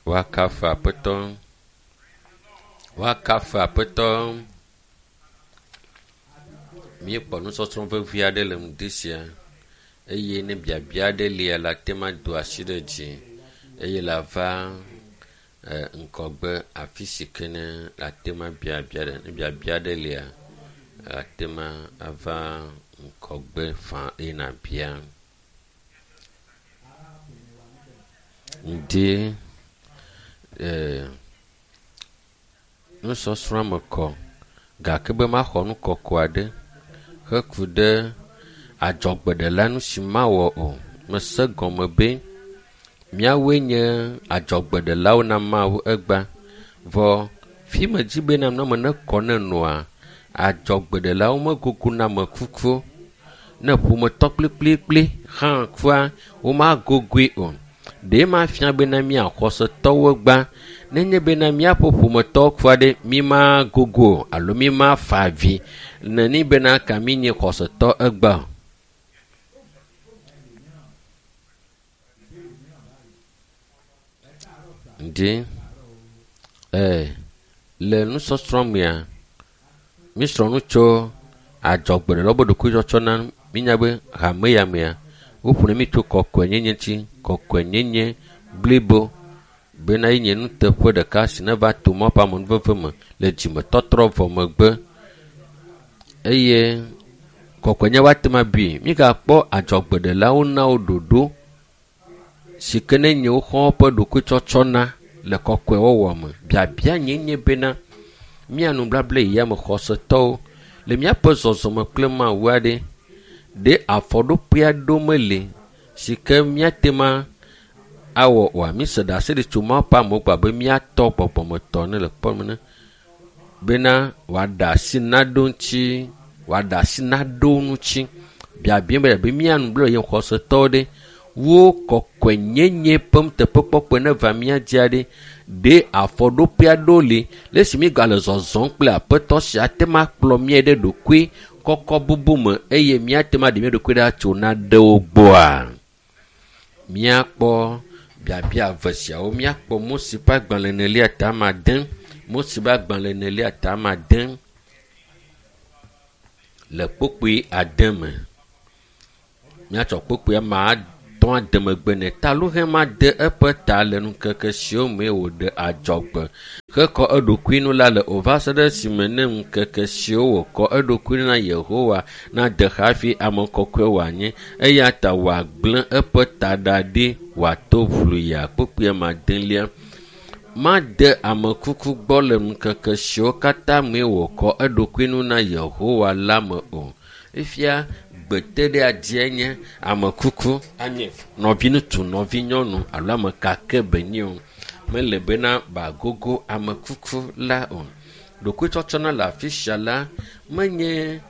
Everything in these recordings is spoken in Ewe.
Woakafu Aƒetɔ. Woakafu Aƒetɔ. Míekpɔ nusɔsrɔ̃ vevi aɖe le ŋdi sia eye ne biabia aɖe lia le ate ŋu ado asi ɖe dzi eye le ava e, ŋgɔgbe afi si ke ne le ate ŋu abia bia ɖe. Ne biabia aɖe lia, ate ŋu ava ŋgɔgbe faa eye nàbia. Ŋdi e, nusɔsrɔ̃a me kɔ gake be maxɔ nu kɔkɔ aɖe heku ɖe adzɔgbeɖela nu si mawɔ o. Mese gɔme be míawoe nye adzɔgbeɖelawo na Mawu egbea. Vɔ fi medzi be na nɔme nekɔ ne nɔa, adzɔgbeɖelawo megogona ame kukuwo. Ne ƒometɔ kplikplikpli hã kua, womagogoe o. Ɖe ma fia bena mía xɔsetɔwo gbã nenye bena míaƒe ƒometɔwo kua ɖe mi ma gogo o alo mi ma fa avi neni bena ka mi nye xɔsetɔ egbea o. Ŋdi ee le nusɔsrɔ̃ mea míesrɔ̃ nu tso adzɔgbeɖelawo be ɖokuitsɔtsɔ na mínya be hame ya mea woƒo ne mí tso kɔkɔenyenye ŋuti kɔkɔenyenye blibo bena ye nye nuteƒe ɖeka si neva to Mawu ƒe amenuveve me le dzimetɔtrɔ vɔ megbe eye kɔkɔenye woate ŋu abui. Mígakpɔ adzɔgbeɖelawo na wo ɖoɖo si ke ne nye woxɔ woƒe ɖokuitsɔtsɔ na le kɔkɔewɔwɔ me. Biabia nye nye bena mía nubabla yi ya me xɔsetɔwo le míaƒe zɔzɔme kple Mawu aɖe ɖe afɔɖoƒe aɖewo meli si ke míate ŋu awɔ oa? Míse ɖase ɖi tso Mawu ƒe amewo gbɔ abe míatɔ gbɔgbɔmetɔ ene le kpɔm ene bena wòaɖe asi naɖewo ŋuti, wòaɖe asi naɖewo ŋuti. Biabia be be mía nubabla yi xɔsetɔwo ɖe wo kɔkɔenyenye ƒe nuteƒekpɔkpɔe neva mía dzi aɖe ɖe afɔɖoƒe aɖewo li le esi míegale zɔzɔm kple aƒetɔ sia ate ŋu akplɔ mía ɖe ɖokui kɔkɔ bubu me eye míate ŋu aɖe mía ɖokui ɖa tso naɖewo gbɔa? Míakpɔ biabia eve siawo. Míakpɔ Mose ƒe agbalẽ enelia ta ame ade, Mose ƒe agbalẽ enelia ta ame ade le kpukpui ade me. Míatsɔ kpukpui ame atɔ̃ ade megbe nɛ. Taluhe made eƒe ta le ŋkeke siwo mee wòɖe adzɔgbe hekɔ eɖokui nu la le o va se ɖe esime ne ŋkeke siwo wòkɔ eɖokui na Yehowa nade hafi ame kɔkɔe wòanye eya ta wòagblẽ eƒe taɖa ɖi wòato ʋluya. Kpukpui ame adelia. Made ame kuku gbɔ le ŋkeke siwo katã mee wòkɔ eɖokui nu na Yehowa la me o. Fifia gbeteɖeadzie nye ame kuku anye nɔviŋutsu, nɔvinyɔnu alo ame ka ke be nye o. Mele bena bagogo ame kuku la o. Ɖokuitsɔtsɔna le afi sia la menye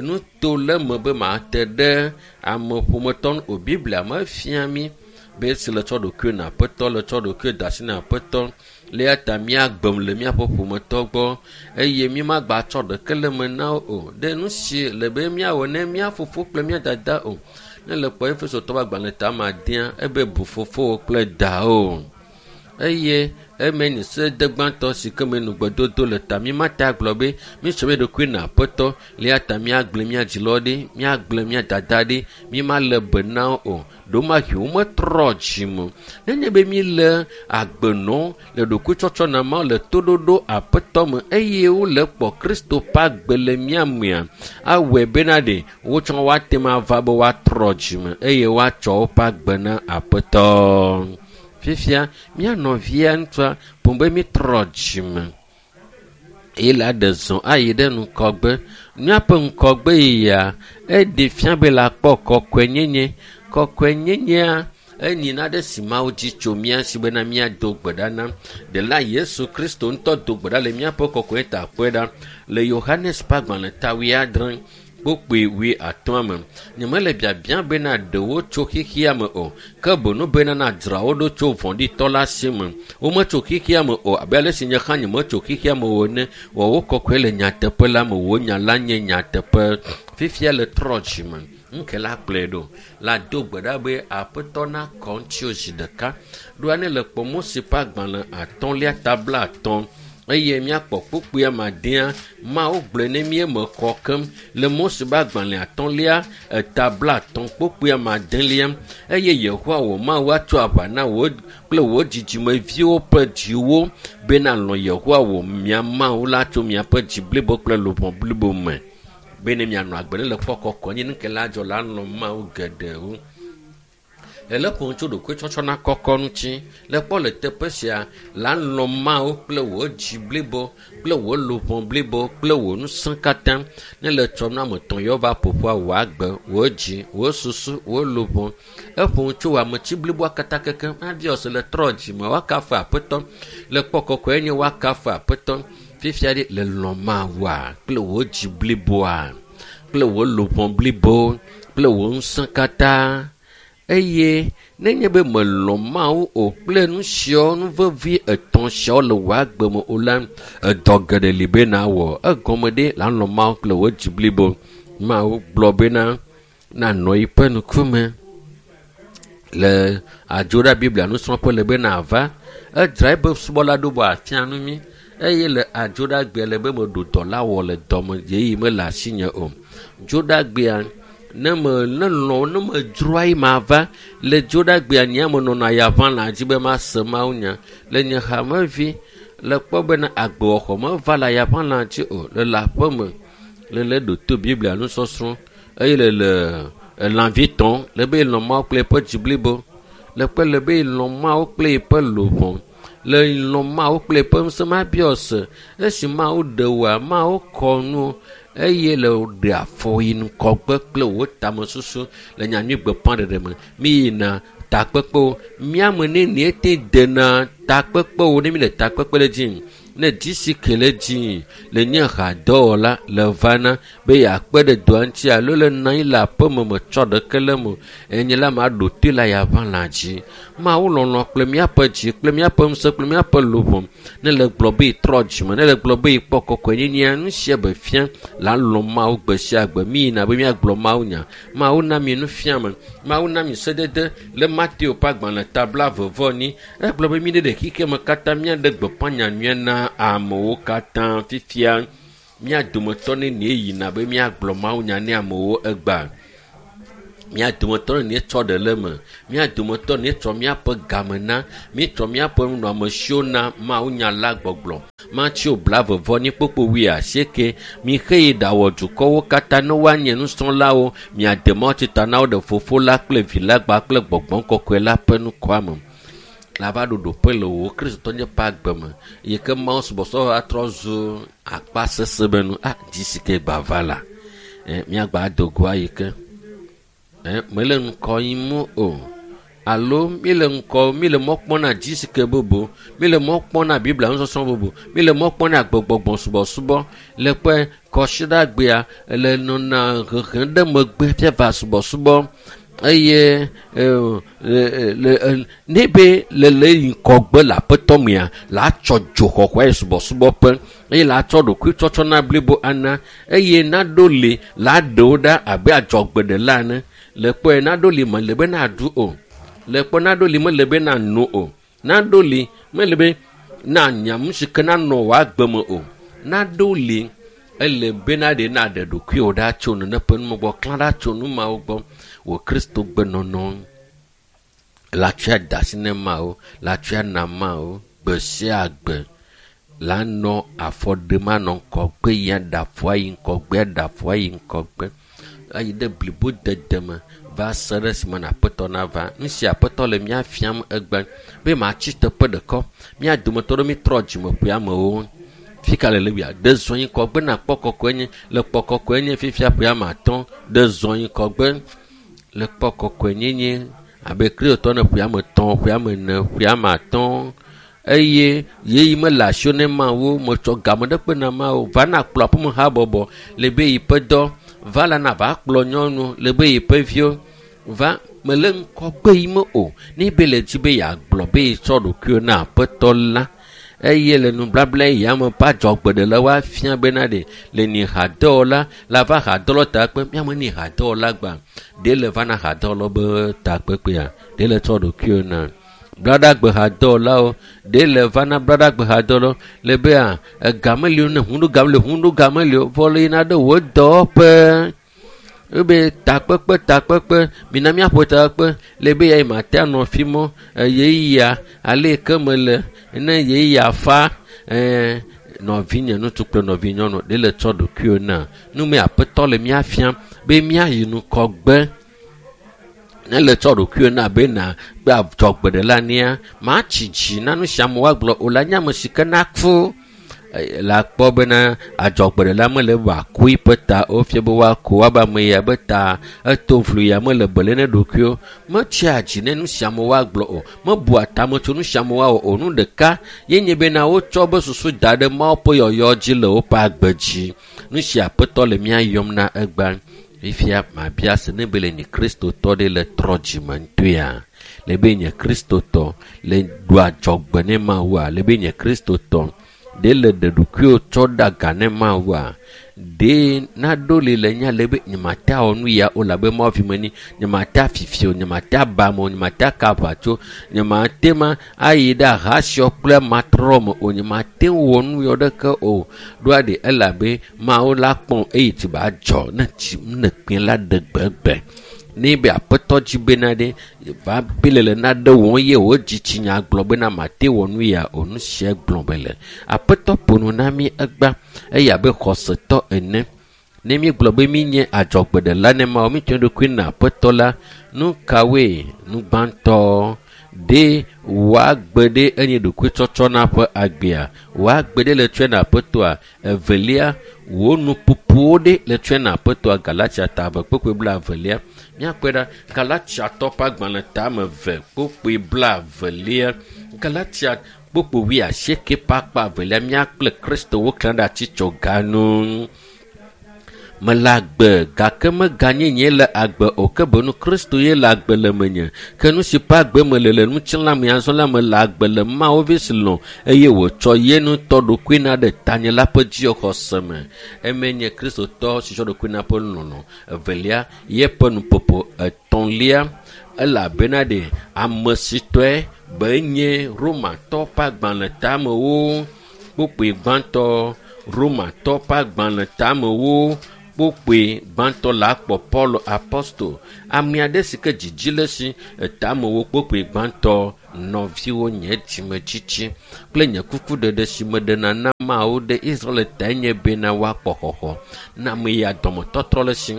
nuto le eme be mate ɖe ame ƒometɔ ŋu o. Biblia mefia mí be esi le tsɔ ɖokuiwò na Aƒetɔ le tsɔ ɖokuiwò de asi na Aƒetɔ le eya ta míagbem le míaƒe ƒometɔ gbɔ eye mímagbatsɔ ɖeke le eme na wo o. Ɖe nu si le be míawɔ ne mía fofo kple mía dada o. Ne le kpɔ Efesotɔwo ƒe agbalẽ ta ame adea, ebe bu fofowò kple dawò. Eye eme nye sedede gbãtɔ si ke me nugbedodo le ta mímate agblɔ be mítsɔ mía ɖokui na Aƒetɔ le eya ta míagblẽ mía dzilawo ɖi, míagblẽ mía dada ɖi, mímalé be na wo o. Ɖewomahi wometrɔ dzime o. Nenye be míle agbe nɔm le ɖokuitsɔtsɔ na Mawu le toɖoɖo Aƒetɔ me eye wole kpɔ Kristo ƒe agbe le mía mea, awɔe bena ɖe wotsɔ woate ŋu ava be woatrɔ dzime eye woatsɔ woƒe agbe na Aƒetɔ. Fifia mía nɔvia ŋutsua boŋ be mítrɔ dzime eye la ɖe zɔ ayi ɖe ŋgɔgbe. Míaƒe ŋgɔgbe yia eɖe fia be la kpɔ kɔkɔenyenye. Kɔkɔenyenyea enyi naɖe si Mawu dzi tso mía si bena míado gbe ɖa na. Ɖela Yesu Kristo ŋutɔ do gbe ɖa le míaƒe kɔkɔe ta kpɔe ɖa le Yohanes ƒe agbalẽ ta wuiadre kpukpui wuiatɔ̃a me. Nyemele biabia bena ɖewo tso xexea me o, ke boŋ bena nadzra wo ɖo tso vɔ̃ɖitɔ la si me. Wometso xexea me o abe ale si nye hã nyemetso xexea me o ene. Wɔ wo kɔkɔe le nyateƒe la me. Wò nya la nye nyateƒe. Fifia le trɔ dzime. Ŋke la kplɔe ɖo. La do gbe ɖa be aƒetɔ nakɔ ŋutiwò zi ɖeka. Ɖoa ne le kpɔ Mose ƒe agbalẽ atɔ̃lia ta 50 eye míakpɔ kpukpui amadea Mawu gblɔe ne mí eme kɔ keŋ le Mose ƒe agbalẽ atɔ̃lia eta 50 kpukpui amadelia eye Yehowa wò Mawu atso aʋa na wò kple wò dzidzimeviwo ƒe dziwo bena lɔ̃ Yehowa wò mia Mawu la tso miaƒe dzi blibo kple luʋɔ blibo me bene mianɔ agbe ne le kpɔ kɔkɔ nye nuke la dzɔ la lɔ̃ Mawu geɖewo. Ele ƒom tso ɖokuitsɔtsɔ na kɔkɔ ŋuti. Le kpɔ le teƒe sia la lɔ̃ Mawu kple wò dzi blibo kple wò luʋɔ blibo kple wò ŋusẽ katã. Ne le tsɔm na ame etɔ̃ yewo va ƒoƒua wò agbe, wò dzi, wò susu, wò luʋɔ. Eƒom tso ametsi bliboa katã kekem. Abiɔ se le trɔ dzime woakafu aƒetɔ. Le kpɔ kɔkɔe nye woakafu aƒetɔ. Fifia ɖe le lɔ̃ Mawua kple wò dzi bliboa kple wò luʋɔ blibo kple wò ŋusẽ katã. Eye nenye be melɔ̃ Mawu o kple nu siawo nu vevi etɔ̃ siawo le wò agbe me o la, edɔ geɖe li be nawɔ. Egɔme ɖe la lɔ̃ Mawu kple wò dzi blibo. Mawu gblɔ bena nanɔ yiƒe ŋkume le adzoɖa Biblia nusrɔ̃ƒe le be nava. Edzra eƒe subɔla ɖo be wòafia nu mí eye le adzoɖagbea le be meɖo dɔ la wɔ le dɔme ɣeyiɣi mele asinye o. Dzoɖagbea ne me ne lɔ̃ ne medzroa yi mava le dzoɖagbea nye me nɔna ya ʋã dzi be mase Mawu nya le nye hamevi le kpɔ bena agbewɔxɔ meva le ayaʋã dzi o le le aƒe me le le ɖo to Biblia nusɔsrɔ̃ eye le le elãvi tɔm le be lɔ̃ Mawu kple eƒe dzi blibo le kpe le be lɔ̃ Mawu kple eƒe luʋɔ le lɔ̃ Mawu kple eƒe ŋusẽ mabiɔ se esi Mawu ɖe wòa Mawu kɔ nu eye le ɖe afɔ yi ŋgɔgbe kple wò tamesusu le nyanyui gbeƒãɖeɖe me. Mi yina takpekpewo míame nenie te dena takpekpewo ne mi le takpekpe le dzi ne DCK le dzi le nye hadɔwɔla le vana be yeakpe ɖe dɔa ŋuti alo le nɔ anyi le aƒeme metsɔ ɖeke le eme o. Enye la maɖo toe le ayaʋã dzi. Mawu lɔlɔ̃ kple míaƒe dzi kple míaƒe ŋusẽ kple míaƒe luʋɔ ne le gblɔ be yetrɔ dzime ne le gblɔ be yekpɔ kɔkɔenyenyea nu sia be fia la lɔ̃ Mawu gbe sia gbe. Mi yina be míagblɔ Mawu nya. Mawu na mi nufiame. Mawu na mi sedede le Mateo ƒe agbalẽ ta 24. Egblɔ be mi ɖe xexea katã míaɖe gbeƒã nyanyuia na amewo katã fifia. Mía dometɔ nenie yina be míagblɔ Mawu nya ne amewo egbea. Mía dometɔ nenie tsɔ ɖe le eme. Mía dometɔ nenie tsɔ míaƒe game na. Míetsɔ míaƒe nunɔamesiwo na Mawu nya la gbɔgblɔ. Mateo 28 kpukpui 80. Mixe yi ɖawɔ dukɔwo katã ne woanye nusrɔ̃lawo. Miade mawutsi ta na wo ɖe Fofo la kple Vi la kpakple Gbɔgbɔ Kɔkɔe la ƒe ŋkɔa me. La va ɖo ɖoƒe le wò Kristotɔnyenye ƒe agbe me yi ke Mawu subɔsubɔ atrɔ zu akpa sesẽ be nu. Ah, DCK gba va la. Míagba do go ayi ke. Mele ŋkɔ yim o. Alo míle ŋkɔ, míle mɔ kpɔm na DCK bubu, míle mɔ kpɔm na Biblia nusɔsrɔ̃ bubu, míle mɔ kpɔm na gbegbɔgbɔ subɔsubɔ le ƒe kɔsiɖagbea le nɔna hehem ɖe megbe fia va subɔsubɔ eye ne be le le ŋkɔgbe le aƒetɔ mea la tsɔ dzoxɔxɔe yi subɔsubɔƒe eye la tsɔ ɖokuitsɔtsɔ na blibo ana eye naɖo li la ɖewo ɖa abe adzɔgbeɖela ene. Le kpɔe naɖo li mele be naɖu o. Le kpɔ naɖo li mele be nano o. Naɖo li mele be nanya nu si ke nanɔ wò agbe me o. Naɖo li ele be naɖe naɖe ɖokuiwò ɖa tso nene ƒe nume gbɔ, klã ɖa tso nu mawo gbɔ. Wò Kristo gbenɔnɔ la tsɔe da asi ne Mawu, la tsɔe na Mawu gbe sia gbe. La nɔ afɔ ɖem anɔ ŋgɔgbe ya ɖe afɔ ayi ŋgɔgbe, aɖe afɔ ayi ŋgɔgbe. Ayi ɖe blibo dede me va se ɖe esime na aƒetɔ nava. Nu si aƒetɔ le mía fiam egbe be matsi teƒe ɖeka. Mía dometɔ ɖewo mítrɔ dzime ƒe amewo. Fika le Lewia? Ɖe zɔ yi ŋgɔgbe na kpɔ kɔkɔe nye. Le kpɔ kɔkɔe nye fifia ƒe ame atɔ̃. Ɖe zɔ yi ŋgɔgbe le kpɔ kɔkɔe nyenye abe Kristotɔ ne ƒe ame etɔ̃, ƒe ame ene, ƒe ame atɔ̃. Eye yeyi mele asiwò ne Mawu metsɔ game ɖe kpe na Mawu. Va na kplɔ aƒeme habɔbɔ le be yi ƒe dɔ. Va la na va kplɔ nyɔnu le be yi ƒe viwo. Va mele ŋgɔgbe yi me o. Ne be le dzi be yeagblɔ be yetsɔ ɖokuiwò na aƒetɔ la. Eye le nublabla ya me ƒe adzɔgbeɖela woafia bena ɖe le ni hadɔwɔla la va hadɔwɔla takpe míame ni hadɔwɔla gbã ɖe le va na hadɔwɔla be takpekpea ɖe le tsɔ ɖokuiwo na blaɖagbe hadɔwɔlawo ɖe le va na blaɖagbe hadɔwɔlawo le bea ega meli o ne ʋu ɖo game le ʋu ɖo game li o vɔ le yina ɖe wò dɔwɔƒe ebe takpekpe takpekpe mina míaƒo takpekpe le be ya yi mate anɔ fi mɔ ɣeyiɣia ale yi ke mele ne ɣeyiɣia fa ɛɛ nɔvinye ŋutsu kple nɔvinyɔnu ɖe le tsɔ ɖokuiwo na nume aƒetɔ le mía fiam be míayi ŋgɔgbe ne le tsɔ ɖokuiwo na be na be adzɔgbeɖela nia matsi dzi na nu sia ame woagblɔ o la nye ame si ke na ku la kpɔ bena adzɔgbeɖela mele wòaku eƒe ta o fia be woaku woabe ame ya be ta eto vlu ya mele bele ne ɖokuiwo metsia dzi ne nu sia ame woagblɔ o mebua tame tso nu sia ame woawɔ o nu ɖeka ye nye bena wotsɔ be susu da ɖe Mawu ƒe yɔyɔ dzi le woƒe agbe dzi nu sia aƒetɔ le mía yɔm na egbea fifia mabia se ne be le nye kristotɔ ɖe le trɔ dzime ŋutɔea le be nye kristotɔ le ɖu adzɔgbe ne Mawua le be nye kristotɔ ɖe le ɖe ɖokuiwo tsɔ ɖe aga ne Mawua ɖe naɖo li le nya le be nyemate awɔ nu ya o labe Mawu vi menye nyemate afifi o nyemate aba ame o nyemate aka aʋatso nyemate ma ayi ɖe ahasiɔ kple matrɔ me o nyemate wɔ nu yɔ ɖeke o ɖoa ɖe elabe Mawu la kpɔm eye tsi ba dzɔ ne tsi ne kpẽ la ɖe gbegbe ne be aƒetɔ dzi bena ɖe va be le le naɖe wɔm ye wò dzitsinya gblɔ bena mate wɔ nu ya o nu sia gblɔ be le aƒetɔ ƒo nu na mí egbea eye abe xɔsetɔ ene ne míegblɔ be míenye adzɔgbeɖela ne Mawu mítsɔ ɖokui na aƒetɔ la nu kawoe nu gbãtɔ ɖe wòagbe ɖe enye ɖokuitsɔtsɔ na ƒe agbea wòagbe ɖe le tsɔe na aƒetɔa evelia wò nuƒoƒowo ɖe le tsɔe na aƒetɔa Galatia ta eve kpukpui blaevelia míakpɔe ɖa Galatiatɔ ƒe agbalẽ tame eve kpukpui blaevelia Galatia kpukpui wuiasieke ƒe akpa evelia mía kple Kristo woklã ɖe atitsoga nu. Mele agbe gake meganye nye le agbe o ke boŋ Kristo ye le agbe le menye ke nu si ƒe agbe mele le ŋutilã me azɔ la mele agbe le Mawu vi si lɔ̃ eye wòtsɔ ye ŋutɔ ɖokui na ɖe tanye la ƒe dzixɔse me. Eme nye Kristotɔ si tsɔ ɖokui na ƒe lɔlɔ̃. Evelia, yeƒe nuƒoƒo. Etɔ̃lia, elabena ɖe ame si tɔe be nye Romatɔ ƒe agbalẽ tamewo kpukpui gbãtɔ Romatɔ ƒe agbalẽ tamewo kpukpui gbãtɔ la akpɔ Paul apostol ame aɖe si ke dzidzi le si etamewo kpukpui gbãtɔ nɔviwo nye dzimetsitsi kple nye kukuɖeɖe si meɖena na Mawu ɖe Israel tae nye bena woakpɔ xɔxɔ na ame ya dɔmetɔtrɔ le si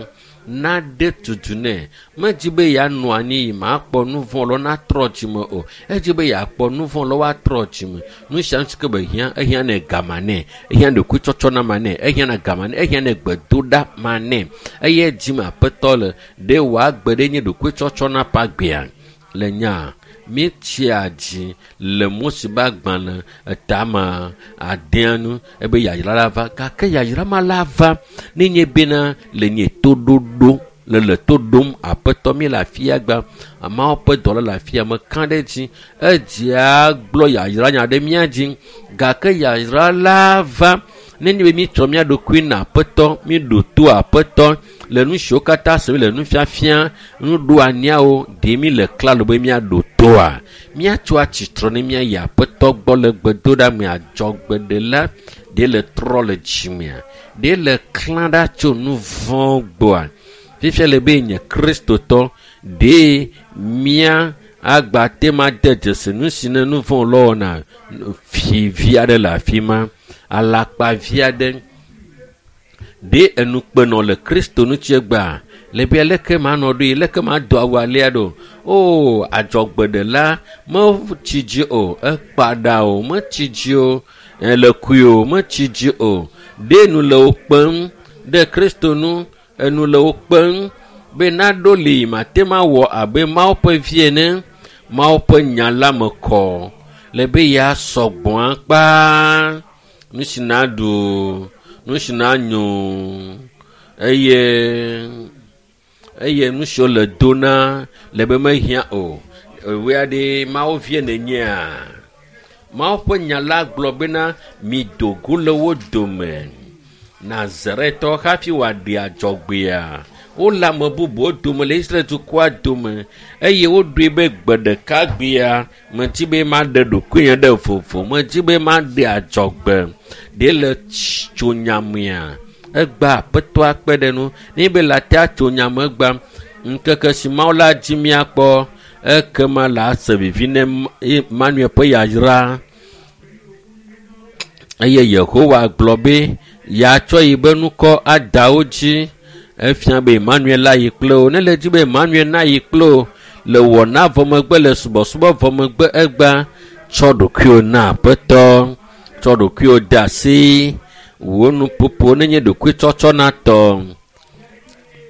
naɖe tutu nɛ medzi be yeanɔ anyi yi makpɔ nu vɔ̃ lɔ natrɔ dzime o edzi be yeakpɔ nu vɔ̃ lɔ woatrɔ dzime nu sia nu si ke be hiã ehiã nɛ gama nɛ ehiã ɖokuitsɔtsɔ na ma nɛ ehiã na gama nɛ ehiã nɛ gbedoɖa ma nɛ eye dzime aƒetɔ le ɖe wòagbe ɖe nye ɖokuitsɔtsɔ na ƒe agbea le nya míetsia dzi le Mose ƒe agbalẽ etame adea nu ebe yayra la va gake yayra ma la va nenye bena le nye toɖoɖo le le to ɖom aƒetɔ mi le afia gba Mawu ƒe dɔla le afia meka ɖe edzi edzia gblɔ yayra nya ɖe mía dzi gake yayra la va nenye be míetsɔ mía ɖokui na aƒetɔ míɖo to aƒetɔ le nu siwo katã sem le nufiafia nuɖoanyiawo ɖe mí le klalo be míaɖo toa míatso atsitre ne míayi aƒetɔ gbɔ le gbedoɖa me adzɔgbeɖela ɖe le trɔ le dzimea ɖe le klã ɖa tso nu vɔ̃ gbɔa fifia le be nye kristotɔ ɖe mía agba te ma de dzesi nu si ne nu vɔ̃ lɔ wɔna fi vi aɖe le afi ma alakpa vi aɖe ɖe enukpenɔ le Kristo ŋuti egbea le be leke manɔ ɖoe leke mado awu alea ɖo o adzɔgbeɖela metsi dzi o ekpa ɖa o metsi dzi o ele kui o metsi dzi o ɖe nu le wo kpem ɖe Kristo nu enu le wo kpem be naɖo li mate ma wɔ abe Mawu ƒe vi ene Mawu ƒe nya la me kɔ le be ya sɔgbɔa kpaa nu si naɖu nu si nanyo eye eye nu siwo le do na le be mehiã o ewɔe aɖe Mawu vie nenyea Mawu ƒe nya la gblɔ bena mido go le wo dome. Nazaretɔ hafi wòaɖe adzɔgbea. Wole ame bubuwo dome le Israel dukɔa dome eye woɖoe be gbe ɖeka gbea medi be maɖe ɖokuinye ɖe vovo, medi be maɖe adzɔgbe. Ɖe le tso nyamea egba aƒetɔa kpe ɖe nu. Ne be le atea tso nyame egba ŋkeke si Mawu la dzi míakpɔ ekema le ase vivi ne Emmanuel ƒe yayra. Eye Yehowa gblɔ be yeatsɔ yi be nukɔ ada wo dzi. Efia be Emmanuel la yi kple wo. Ne le dzi be Emmanuel na yi kple wo le wɔna vɔ megbe le subɔsubɔ vɔ megbe egba tsɔ ɖokuiwò na aƒetɔ, tsɔ ɖokuiwò de asi. Wò nuƒoƒo nenye ɖokuitsɔtsɔ na tɔ.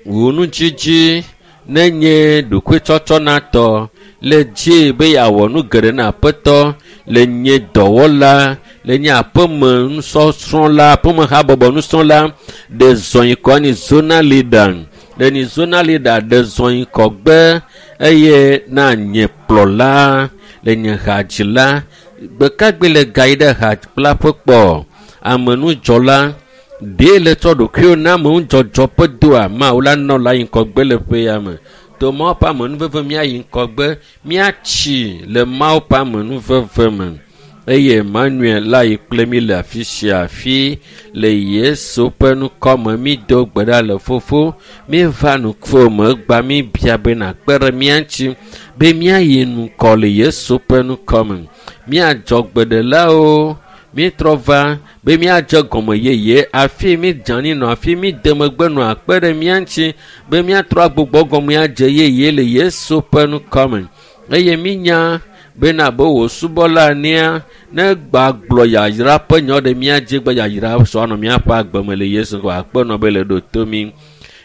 Wò nudzidzi nenye ɖokuitsɔtsɔ na tɔ. Le dzi be yeawɔ nu geɖe na aƒetɔ le nye dɔwɔla, le nye aƒeme nusɔsrɔ̃la, aƒeme habɔbɔ nusrɔ̃la, ɖe zɔnyikɔ ni zona leader. Ɖe ni zona leader ɖe zɔnyikɔ gbe eye na nye kplɔla le nye hadzila. Gbekagbe le gayi ɖe hakplaƒe kpɔ amenudzɔla ɖe le tsɔ ɖokuiwo na amenudzɔdzɔ ƒe doa Mawu la nɔ la yi ŋgɔgbe le ƒe ya me. To Mawu ƒe amenuveve míayi ŋgɔgbe, míatsi le Mawu ƒe amenuveve me. Eye Emmanuel la yi kple mí le afi sia afi le Yesu ƒe ŋkɔ me mído gbe ɖa le fofo míeva ŋkuwò me gba míbia be nàkpe ɖe mía ŋuti be míayi ŋgɔ le Yesu ƒe ŋkɔ me. Míadzɔ gbeɖelawo mítrɔ va be míadze gɔme yeye afi mídze anyi nɔ afi míde megbe nɔ akpe ɖe mía ŋuti be míatrɔ agbugbɔ gɔme adze yeye le Yesu ƒe ŋkɔ me. Eye mínya bena abe wò subɔla enea ne gbagblɔ yayra ƒe nya ɖe mía dzi be yayra sɔ anɔ míaƒe agbe me le Yesu ŋkɔ akpe nɔ be le ɖo to mí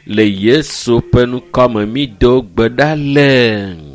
le Yesu ƒe ŋkɔ me mído gbe ɖa le.